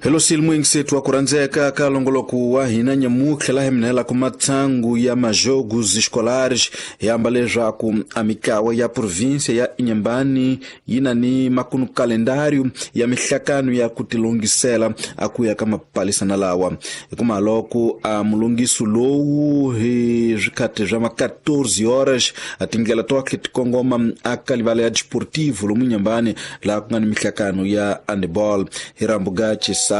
Hello silmu ingisetu wa kurandzeka ka longoloko wa hina nyamutlha laha minhela ku matsangu ya majogos escolares hi amba leswaku a mitlawa ya província ya Inhambane yi na ni makunu kalendário ya mihlakano ya ku tilongisela a ku ya ka mapalisana lawa hikuma loko a mulongiso lowu hi swikhati swa ma 14 horas a tindlela tohle ti kongoma a ka livala ya desportivo lomu Inhambane laha ku nga ni mihlakano ya handball hi rambuga xisati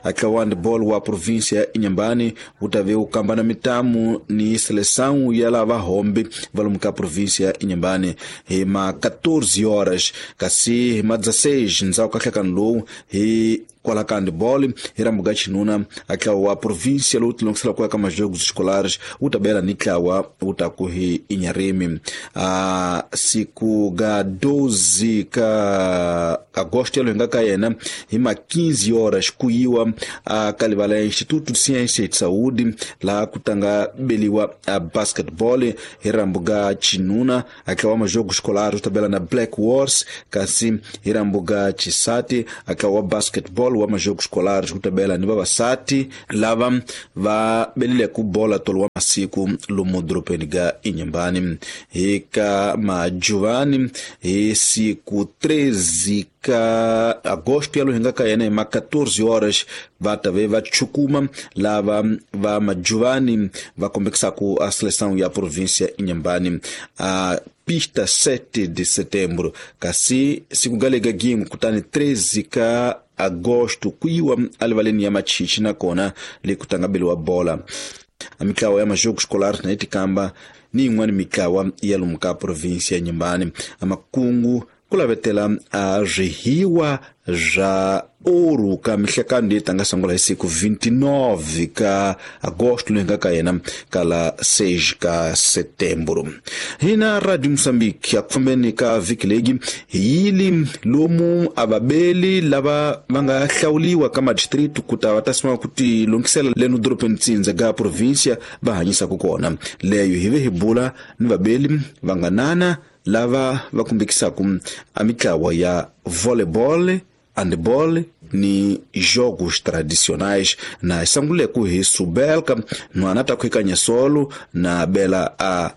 a tlawa handball wa província ya Inhambane wu ta ve wu kambana mitamu ni seleção ya lava hombe va lomu ka província ya Inhambane hi ma 14 horas kasi hi ma 16 ndzhaku ka nhlekano lowu hi kwala ka handball hi rambuga xinuna a tlawa wa província lowu tilongisela ku ya ka majogos escolares wu ta bela ni tlawa wu ta ku hi Inharime a siku ga 12 ka agosto yalo hi nga ka yena hi ma 15 horas ku yiwa a ka livala ya Instituto de Ciência e de Saúde laha ku tanga beliwa a basketball hi rambuga xinuna a tlawa majogo escolar wu ta bela na Black Wars kasi hi rambuga xisati a tlawa basketball wa majogo escolar wu ta bela ni vavasati lava va belileke bola tolo wa masiku lomu dorobeni ga Inhambane hi ka majuvani hi siku 13 ka agosto yalo hi nga ka yena hi ma 14 horas va ta ve va chukuma lava va majuvani va kombekisaka a seleção ya província Inhambane a pista 7 de setembro kasi siku galega gin'we kutani 13 ka agosto ku yiwa alivaleni ya machichi nakona le ku tanga beliwa bola a mitlawa ya majogo escolar na yi tikamba ni yin'wana mitlawa ya lomu ka província ya Inhambane a makungu ku lavetela a swihiwa swa ouro ka mihlekano leyi tanga sungula hi siku 29 ka agosto loyi nga ka yena ka la 6 ka setembro hina Radio Moçambique a ku fambeni ka vhiki leyi hi yili lomu a vabeli lava va nga hlawuliwa ka madistritu ku ta va ta sima ku ti lunghisela leno dorobeni tsindza ga província va hanyisaka kona leyo hi ve hi bula ni vabeli va nga nana lava va kumbekisaka a mitlawa ya volleyball, handball ni jogos tradicionais na sanguleku hi subelka nhwana ta khwekanya solo na bela a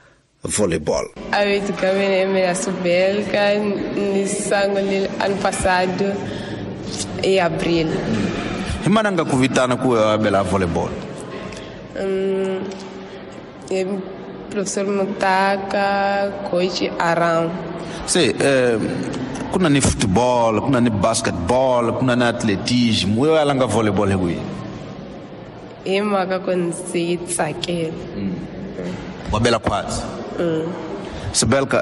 volleyball. A vito mina Subelka ni sangule ano passado em abril. Hi mana nga ku vitana ku ya bela volleyball? Professor Mutaka, coach Aram. Se ku na ni football, ku na ni basketball, ku na ni atletismo, we ya langa volleyball hi kwihi? Hi mhaka ku ndzi yi tsakela. Wa bela khwatsi. Sibelka,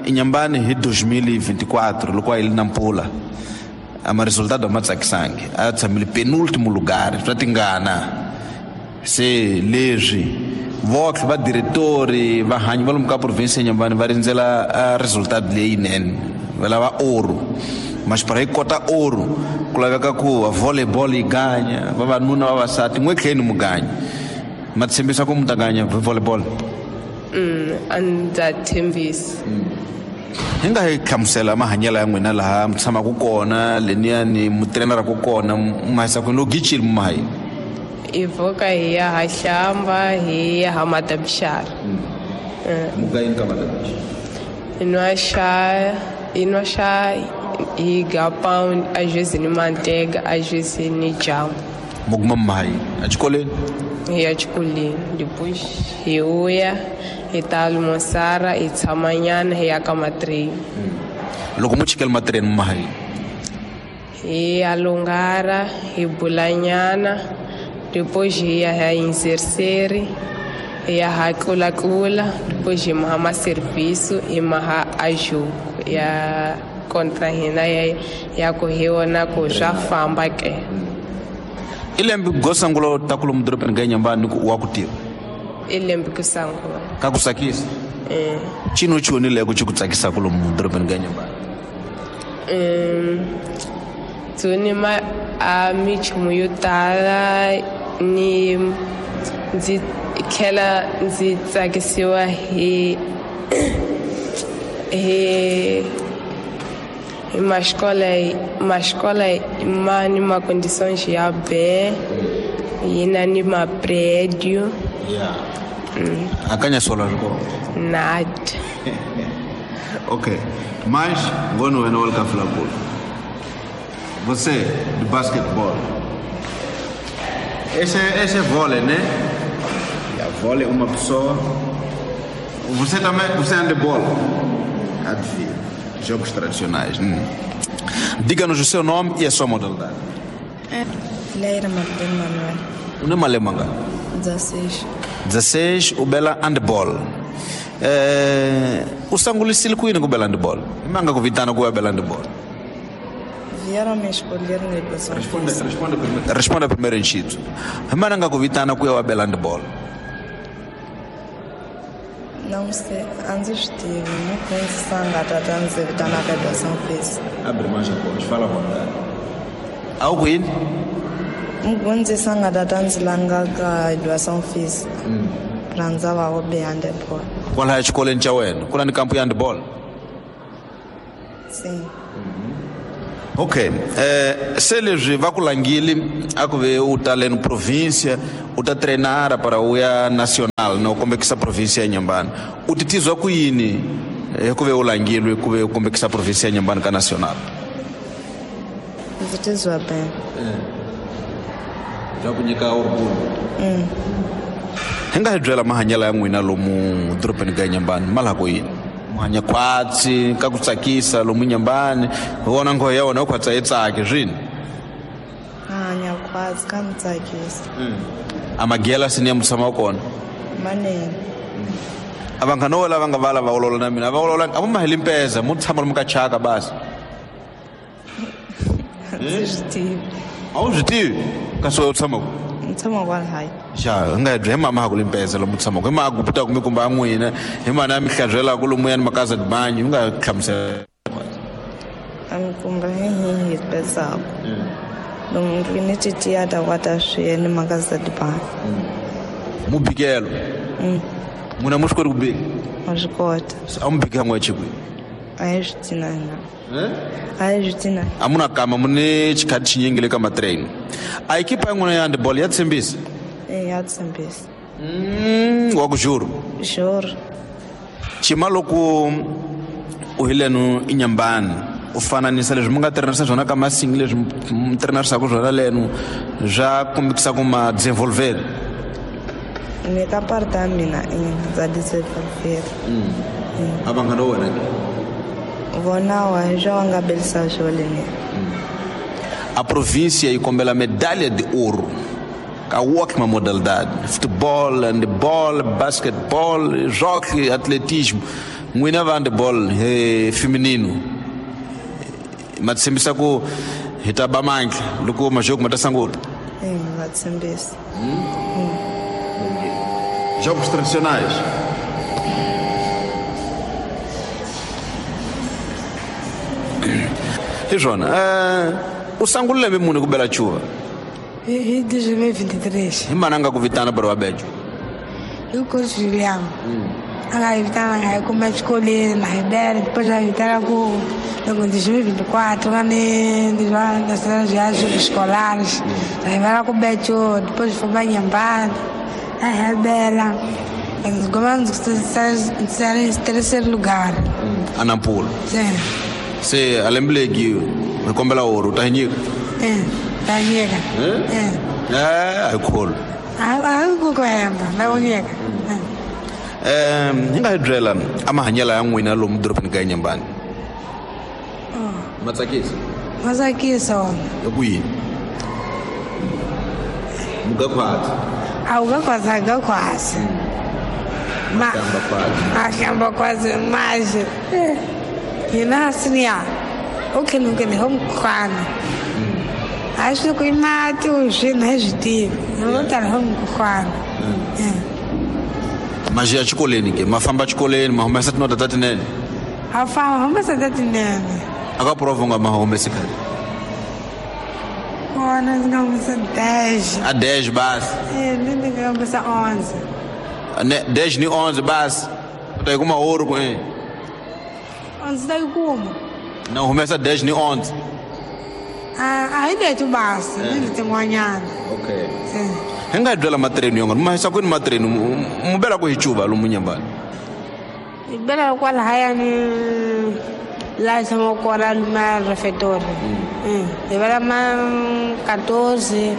Inhambane hi 2024 loko a yi li na mpfula a ma resultado a ma tsakisangi, a tshamile penúltimo lugar swa tingana. Se leswi votlhe va diretori vahanyi va lomu ka province ya Inhambane va rindzela a resultado leyinene, va lava ouro masipara yi kota ouro ku laveka ku volleyball yi ganya vavanuna vavasati n'we tlheni mu ganya ma tshembisa ku mu ta ganya volleyball? A ndza tshembisa. Hi nga hi hlamusela mahanyelo ya n'wina laha mi tshamaka kona leniyani mu treneraku kona mu hahisa kwini loko gichile mu maha yini? Hi pfuka hi ya ha hlamba hi ya ha madabixara. Mu ga yini ka madabixara? Hi nwa xa, hi nwa xa hi ga pound a juice ni mantega a juice ni jamu. Mu kuma mu maha yini a xikolweni? Hi ya xikolweni depois hi vuya hi ta almoçar hi tshamanyana hi ya ka matreni. Loko mu chikela matreni mu maha yini? Hi ya lungara hi bulanyana depois hi ya hi inserseri hi ya ha tlulatlula depois hi maha maserviso hi maha a jogo ya kontra hina ya ku hi vona ku swa famba ke. I lembe go sungula ta ku lomu dorobeni ga Inhambane ku wa ku tiva? I lembe ku sungula. Ka ku tsakisa? Cino choni le ku xi ku tsakisaka lomu dorobeni ga Inhambane? Tsoni ma a minchumu yo tala ni ndzi tlhela ndzi tsakisiwa hi Uma escola ma ni ma condições ya bem, yi na ni maprédio. Yeah. Akanya sola swi kona. Nada. Ok. Mas, ngono wena wa le ka Fulakulu. Você, de basquetebol. Esse é vôlei, né? Yeah, vôlei, uma pessoa. Você também, você é handebol? Adivinha. Jogos tradicionais. Diga-nos o seu nome e a sua modalidade. Leira Martin Manuel. O nome é Lemanga. 16. 16, u bela handball. U sangulisile ku yini ku bela handball? I manga ku vitana ku ya bela handball? Vieram me escolher na educação Responda, física. Responda primeiro. Responda primeiro em Chito. I mana nga ku vitana ku ya wa bela handball? Não sei, a ndzi swi tivi. Mudyondzisi a nga ta ta ndzi vitana ka educação física. Abre mais a voz, fala à vontade. A wu ku yini? Mudyondzisi a nga ta ta ndzi langa ka educação física. Rhandza va wo be handball. Kwalaya exikolweni xa wena ku na ni kampu ya handball? Sim. Okay, se leswi va ku langile a ku ve u ta leni província u ta treinara para u ya nacional no kombekisa província ya Nyambani, u titizwa ku yini hi ku ve u langilwe ku ve u kombekisa província ya Nyambani ka nacional? Ndzi tizwa bem. Bya ku nyika orgulho. Hi nga hi byela mahanyelo ya n'wina lomu dorobeni ka Nyambani ma laha ku yini? Mu hanya khwatsi ka ku tsakisa lomu Nyambani, hi vona nghohe ya wena u khwatsa yi tsaki swini? A hanya khwatsi ka mi tsakisa. A magela sini ya mu tshama kona? Manene. A vanghana vo lava nga vala va olola na mina a va olola a mu maheli mpeza mu tshama lomu ka chaka basi? A ndzi swi tivi. A wu swi tivi kasi u tshama ku? Ndzi tshama kwalahayi. Xa hi nga hi bya hi mama ha ku limpeza lomu tshamaka hi ma guputaka mi kumba n'wina hi mana mi hlantswelaka lomuyani makaza dibanyi u nga hlamusela. A mi kumba hi hi pezaku lomu ni titiya ta kwata swi ni makaza dibanyi. Mubikelo n'wina mu swi koti ku bika? Wa swi kota. A mu bika n'we chikwi? A hi swi tinanga, a hi swi tinanga. A mu na kama mu ni xikhati xinyingi le ka matrain. A ekipa ya n'wina ya handball ya tshembisa? E, ya tshembisa. Wa ku juro? Sure. Xima loko u hi lenu i Nyambani u fananisa leswi mi nga tirhanisa swona ka masingi leswi mi tirhanisaka swona lenu swa kombekisa ku ma desenvolver? Ni ka parte ya mina i ndza desenvolver. A vanghana wa wena ke? Vona wa hi swa va nga belisa swona ni. A província yi kombela medalha de ouro ka ótima modalidade: futebol, handebol, basketball, jockey, atletismo. N'wina va handebol feminino ma tshembisa ku hi ta ba mandla loko majoko ma ta sungula? E, nga tshembisa. Jogos tradicionais. Hi swona, u sungule lembe muni ku bela chuva? Hi 2023. Hi mana nga ku vitana para wa bejo? Hi coach William. A nga hi vitana nga hi kuma exikolweni na hi bela, depois a hi vitana ku loko 2024 nga ni nacional viagens escolares. A hi vela ku bejo, depois fomos Nyambani. A hi bela. Gomamos em terceiro lugar. Anampula? Sim. Se a lembe legi hi kombela oro u ta hi nyika? É, ta nyika. É. A hi kholo. A hi ku hemba, na ku nyika. Hi nga hi byela a mahanyelo ya n'wina lomu dorobeni ka Nyambani ma tsakisa? Ma tsakisa wona. Hi ku yini muga khwatsi? A wu ga khwatsi, a ga khwatsi. Ma hlamba khwatsi. A hlamba khwatsi mas hina assim ya. O que não quer home khwana. Acho que mati o xina hi swi tivi. No ta home khwana. Ma ya xikolweni ke? Ma famba xikolweni ma humesa tinota ta tinene? A famba humesa ta tinene. A ka prova u nga ma humesi khale? Kona ndzi nga humesa 10. A 10 basi? E, ni nga humesa 11. Ne 10 ni 11 basi u ta yi kuma ouro ku 11 ta yi kuma. Na humesa 10 ni 11. A hi leto basa ni letin'wanyana. Okay. Hi nga byela matreni yonga ma hisa kwini matreni mu bela ku hi cuva lomu Nyambani? Hi bela kwalahayani laha hi tshamaka kona luma refetori. Hi bela ma 14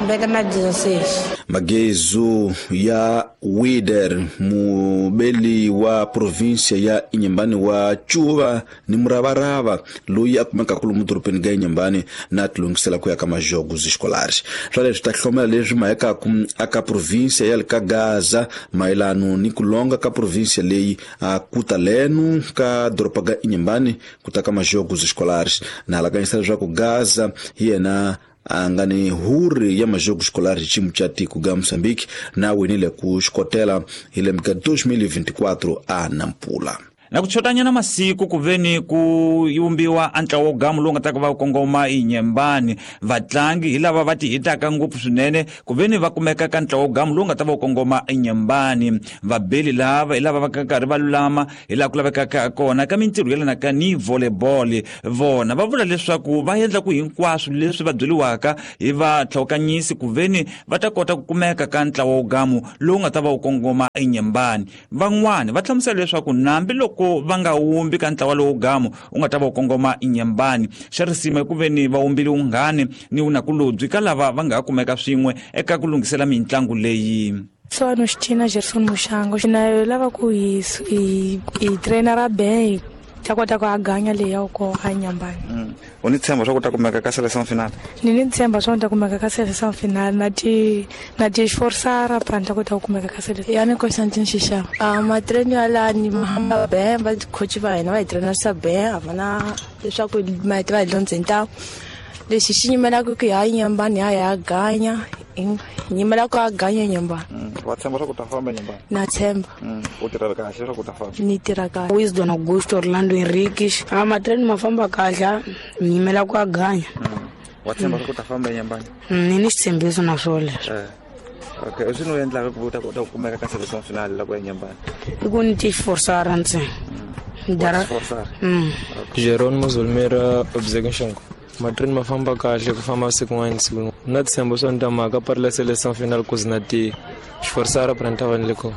beta ma 16. Magezu ya Wider, mubeli wa província ya Inhambane wa Chuva ni muravarava loyi a kumekaka lomu dorobeni ga Inhambane na tilungisela ku ya ka majogos escolares. Swa leswi ta hlomela leswi mahekaku aka província ya le ka Gaza mayelano ni ku longa ka província leyi a kuta leno ka doroba ga Inhambane ku ta ka majogos escolares. Na alakanyisa leswaku Gaza hi yena a nga ni huri ya majogo escolar xiyimo xa tiko ga Moçambique na winile ku xikotela hi lembe ka 2024 a Nampula. Na ku chotanyana masiku ku veni ku yumbiwa a ntlawa wo gamu lowu nga ta ku va kongoma Inhambane. Vatlangi hi lava va ti hitaka ngopfu swinene ku veni va kumeka ka ntlawa wo gamu lowu nga ta va kongoma Inhambane. Vabeli lava hi lava va karhi va lulama hi laha ku lavekaka kona ka mintirho yelanaka ni volleyball. Vona va vula leswaku va endla ku hinkwaswo leswi va byeriwaka hi vatlhawukanyisi ku veni va ta kota ku kumeka ka ntlawa wo gamu lowu nga ta va wu kongoma Inhambane. Van'wani va hlamusela leswaku nambi loko va nga wumbi ka ntlawa lowu gamu u nga ta va u kongoma Inhambane, xa risima ku veni va wumbile unghani ni unakulobyi ka lava va nga kumeka swin'we eka ku lunghisela mintlangu leyi. Sono Xtina Gerson Mushango na lava ku hi trainer ben ta kota ku aganya leyi ya ko Inhambane. U ni tshemba swa ku ta kumeka ka seleção final? Ni tshemba swa ku ta kumeka ka seleção final na ti esforçar pra ta kota ku kumeka ka seleção. Ya ni Constantine Xixava. Matreno ya la ni mahamba ben va coach va hina va hi trainer ben a va na leswaku ma va hi dyondza ntawu. Lexi xi nyimelaka ku ya Inhambane ya ganya nyimela ku a ganya Inhambane. Wa tshemba swa ku ta famba Inhambane? Na tshemba. U tirha kahle swa ku ta famba? Ni tirha kahle. Wisdom Augusto Orlando Henriques. Matreno ma famba kahle nyimela ku a ganya. Wa tshemba swa ku ta famba Inhambane? Ni ni xitshembiso na swona leswo. Okay, swi no endlaka ku ta kota ku kumeka ka seleção final la ku ya Inhambane? I ku ni ti forçar ntsena. Dara. Jerónimo Zulmira Obzegunshongo. Matreni ma famba kahle ku famba siku n'wana siku na tshembo swa ni ta mhaka pari la seleção final ku zina ti xiforsara pra ni ta va ni le kona.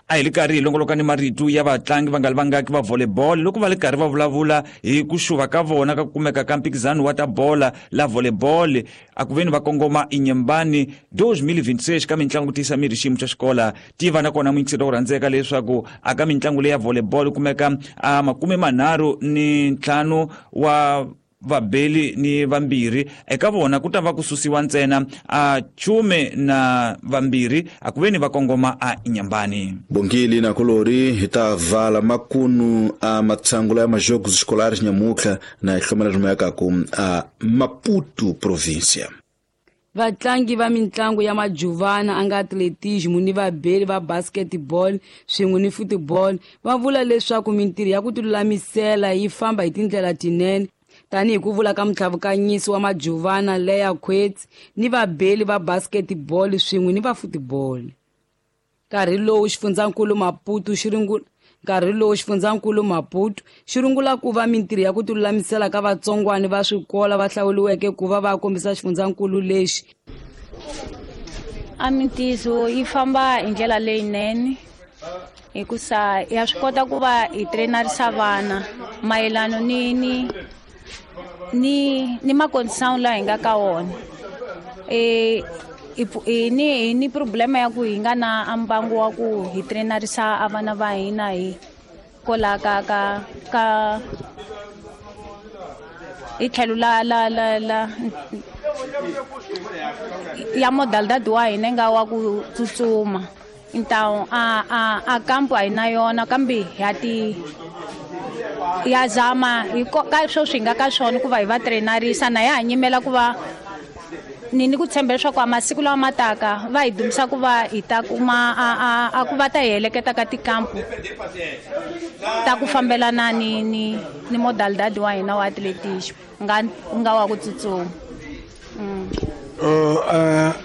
A hi li karhi hi longoloka ni marito ya vatlangi va nga li vangaki va volleyball loko va li karhi va vulavula hi ku xuva ka vona ka ku kumeka ka mphikizano wa ta bola la volleyball a ku veni va kongoma Inhambane 2026 ka mitlangu ku tiyisa miri xiyimo xa xikola. Tiva na kona muyingiseri wo rhandzeka leswaku a ka mitlangu leyi ya volleyball kumeka a 35 wa vabeli ni vambirhi eka vona ku ta va ku susiwa ntsena a 12 a ku veni va kongoma a Inhambane. Bongili na kolori hi ta vala makunu a matsangula ya majogos escolares nyamutlha na hi hlomela rimayakaku a Maputo província. Vatlangi va mitlangu ya majuvana a nga atletismo ni vabeli va basketball swin'we ni football va vula leswaku mintirho ya ku tilulamisela yi famba hi tindlela tinene tanihi ku vula ka mutlhavukanyisi wa majuvana Leya Quets ni vabeli va basketball swin'we ni va football. Nkarhi lowu xifundzankulu Maputo xi rungula ku va mintirho ya ku tilulamisela ka vatsongwana va swikolo va hlawuriweke ku va va kombisa xifundzankulu lexi. A mintirho yi famba hi ndlela leyinene hikusa ya swi kota ku va hi trainarisa vana mayelano ni ni macondição laha hi nga ka wona. Ni problema ya ku hi nga na mbangu wa ku hi trainarisa a vana va hina hi kola ka ka ka hi tlhelo la la la la ya modalidade wa hina nga wa ku tsutsuma. Então a kampo a hi na yona kambe ya ti ya zama hi ka swo swi nga ka swona ku va hi va trainarisa na ya ha nyimela ku va ni ku tshemba leswaku a masiku lawa ma taka va hi dumisa ku va hi ta kuma a ku va ta hi heleketa ka tikampu ta ku fambelana ni ni ni modalidade wa hina wa atletismo nga wa ku tsutsuma.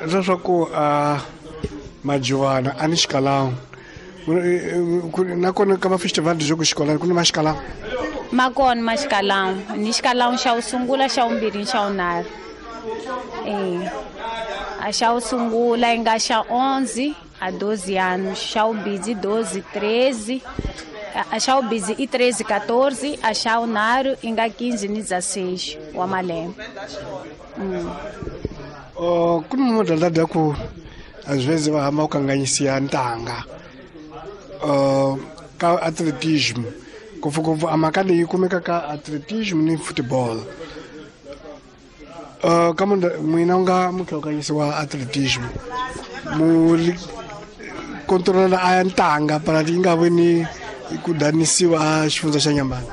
Leswaku majuvana a ni xikalangu nakona ka mafestival de jogo escolar ku ni maxikalanga. Ma kona ma xikalawu ni xikalawu xa wu sungula, xa vumbirhi ni xa vunharhu. A xa wu sungula yi nga xa 11 a 12 anos, xa vumbirhi 12 13, a xa vumbirhi i 13 14, a xa vunharhu i nga 15 ni 16 wa malembe. Ku ni modalidade ya ku às vezes va hamba ku kanganyisiwa ntanga ka atletismo, ngopfungopfu a mhaka leyi kumeka ka atletismo ni football. Ka n'wina u nga muhlokanyisi wa atletismo, mu controla a ya ntanga para yi nga vi ni ku danisiwa a xifundza xa Nyambani?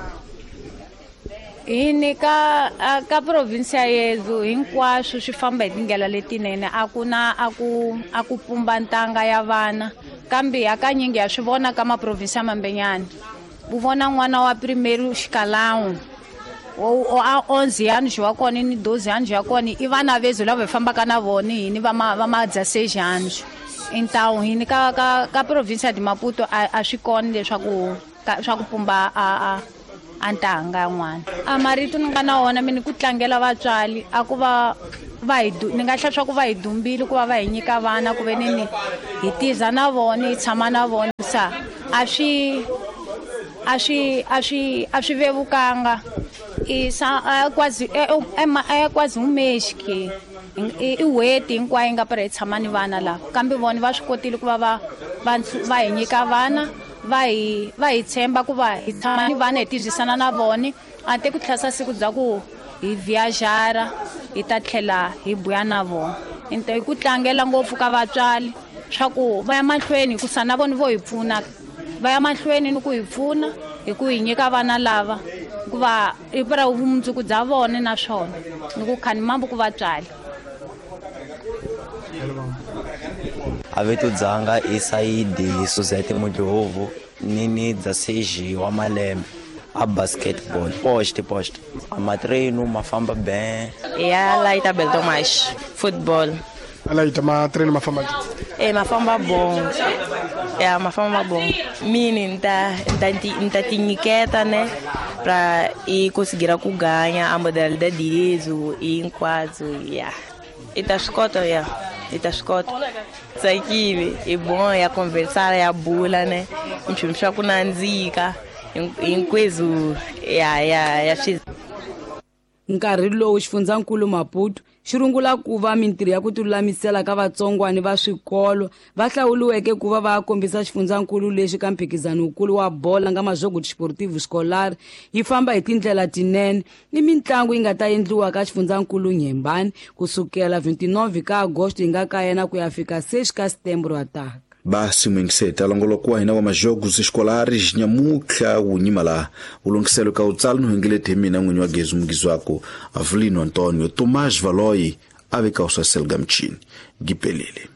Hini ka province ya yedu hinkwaswo swi famba hi tindlela letinene. A ku na a ku pumba ntanga ya vana, kambe hakanyingi ha swi vona ka maprovinsi ya mambenyana, u vona n'wana wa primeiro xikalawu a 11 anos wa kona ni 12 anos ya kona, i vana vezu lava hi fambaka na vona hini va ma 16 anos. Então hini ka province de Maputo a swi kona leswaku swa ku pumba a ntanga ya n'wana. A marito ni nga na wona mina ku tlangela vatswari a ku va hi ni nga hlaya swa ku va hi dumbile ku va va hi nyika vana, ku ve ni hi tiza na vona, hi tshama na vona, sa a swi vevukanga. I quase é quase um mês que i n'hweti hinkwayo yi nga para hi tshama ni vana lava, kambe vona va swi kotile ku va hi nyika vana, va hi tshemba ku va hi tshama ni vana, hi tirhisana na vona a te ku tlhasa siku bya ku hi viajara, hi ta tlhela hi buya na vona. Into hi ku tlangela ngopfu ka vatswari swa ku va ya mahlweni, hikusa na vona vo hi pfuna, va ya mahlweni ni ku hi pfuna hi ku hi nyika vana lava, hikuva i pra vumundzuku bya vona, naswona ni ku khani mambo ku vatswari. A vito dzanga i Saidi Suzete Mudlovu, ni 16 wa malembe, a basketball post a matreino ma famba bem. Ya Laita Beltomas, football. Alaita, matreino ma famba? E ma famba bom. Ya ma famba bom. Mini nta ti nyiketa ne pra e conseguir ku ganha a modalidade direito e hinkwaswo ya. I ta swi kota ya. I ta swi kota. Tsakile, i bom ya conversar, ya bula ne. Nchumu swa ku nandzika hinkweswo ya swi. Nkarhi lowu xifundzankulu Maputo xi rungula ku va mintirho ya ku tilulamisela ka vatsongwani va swikolo va hlawuriweke ku va va kombisa xifundzankulu lexi ka mphikizano wukulu wa bola nga Majogo Desportivo Escolar yi famba hi tindlela tinene, ni mitlangu yi nga ta endliwa ka xifundzankulu Nyembani kusukela 29 ka agosto yi nga ka yena ku ya fika 6 ka setembro wa taka. Basi mwingiseta longoloko wa hina wa majogos escolares nyamutlha wu nyima laha wu lunghiselo ka wutsala no hengilete hi mina n'winyi wa gezi mugizi wako Avelino Antonio Tomás Valoyi a veka uswa selga mchini gipelele.